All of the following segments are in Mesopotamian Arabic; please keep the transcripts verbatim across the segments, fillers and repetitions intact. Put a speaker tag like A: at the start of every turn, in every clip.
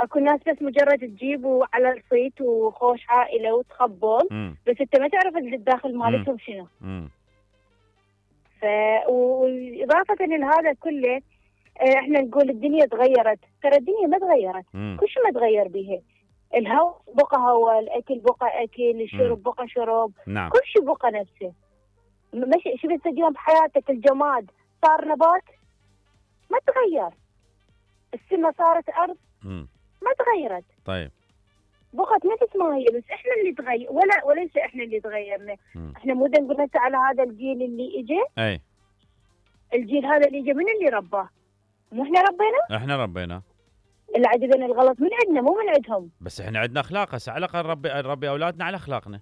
A: اكو ناس بس مجرد تجيبوا على الصيت وخوش عائله وتخبون، بس انت ما تعرف الداخل مالتهم شنو.
B: امم
A: ف واضافه لهذا كله احنا نقول الدنيا تغيرت، ترى الدنيا ما تغيرت، كل شيء ما تغير بيها. الهواء بقى هواء، الاكل بقى اكل، الشرب بقى شرب،
B: نعم.
A: كل شيء بقى نفسه. مش شفت اليوم بحياتك الجماد صار نبات؟ ما تغير. السماء صارت ارض؟
B: مم.
A: ما تغيرت.
B: طيب
A: بقت نفس ما هي، بس احنا اللي تغير ولا وليس احنا اللي تغيرنا.
B: مم.
A: احنا مو نقول هسه على هذا الجيل اللي اجى،
B: اي
A: الجيل هذا اللي اجى من اللي رباه؟ مو احنا ربينا؟
B: احنا ربينا.
A: اللي عندنا الغلط من عندنا مو من عندهم.
B: بس احنا عندنا اخلاق، هسه على الاقل نربي نربي اولادنا على اخلاقنا.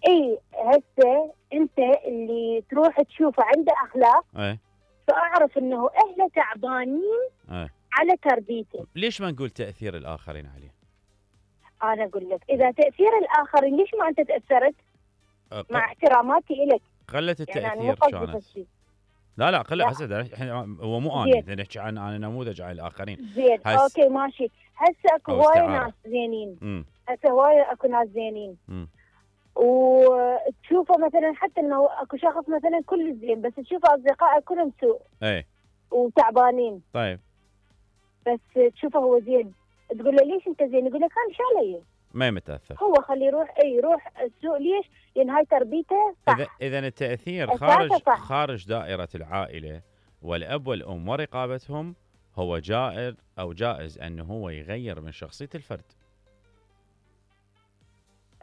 A: اي هسه انت اللي تروح تشوفه عنده اخلاق،
B: اي
A: فاعرف انه اهله تعبانين
B: اي
A: على تربيته.
B: ليش ما نقول تاثير الاخرين عليه؟
A: انا اقول لك اذا تاثير الاخرين ليش ما انت تاثرت؟
B: أه
A: مع احتراماتي الك
B: قلت
A: يعني
B: التاثير كانت. لا لا قلت هسه احنا هو مو انا اذا نحكي عن انا نموذج على الاخرين.
A: زين اوكي ماشي. هسه اكو هوايه ناس زينين، هسه هوايه اكو ناس زينين وتشوفه مثلا حتى انه اكو شخص مثلا كل زين، بس تشوفه اصدقائه كلهم سوء
B: اي
A: وتعبانين.
B: طيب
A: بس تشوفه هو زين تقول له ليش انت زين؟ يقول لك انا شو علي؟
B: ما متاثر.
A: هو خليه يروح اي يروح السوق. ليش؟ لان هاي تربيته صح.
B: اذا اذا التاثير خارج صح. خارج دائره العائله والاب والام ورقابتهم هو جائر او جائز انه هو يغير من شخصيه الفرد.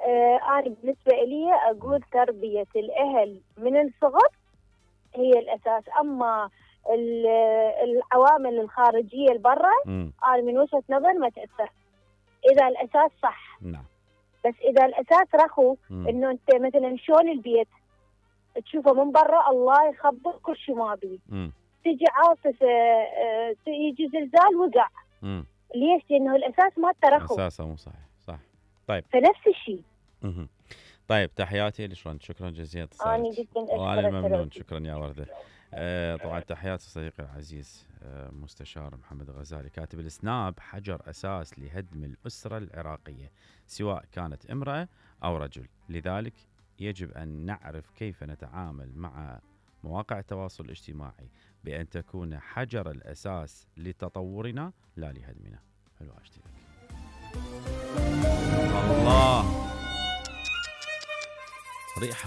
A: آه انا بالنسبه لي اقول تربيه الاهل من الصغر هي الاساس، اما العوامل الخارجيه البرة انا من وجهه نظر ما تاثر اذا الاساس صح.
B: نعم.
A: بس اذا الاساس رخو انه انت مثلا شلون البيت تشوفه من برا الله يخبر كل شيء ما بيه، تجي عاصفه يجي زلزال وقع.
B: مم.
A: ليش؟ لانه الاساس ما ترخو،
B: اساسه مو صحيح. صح. طيب
A: فنفس الشيء.
B: طيب تحياتي لشرون، شكرا جزيلا اتصالك.
A: انا جدا اشكرك.
B: وانا ممنون، شكرا يا ورده. آه طبعا تحياتي صديقي العزيز آه مستشار محمد غزالي كاتب السناب: حجر اساس لهدم الاسره العراقيه سواء كانت امراه او رجل، لذلك يجب ان نعرف كيف نتعامل مع مواقع التواصل الاجتماعي بان تكون حجر الاساس لتطورنا لا لهدمنا. حلو اشتي لك. الله ريحه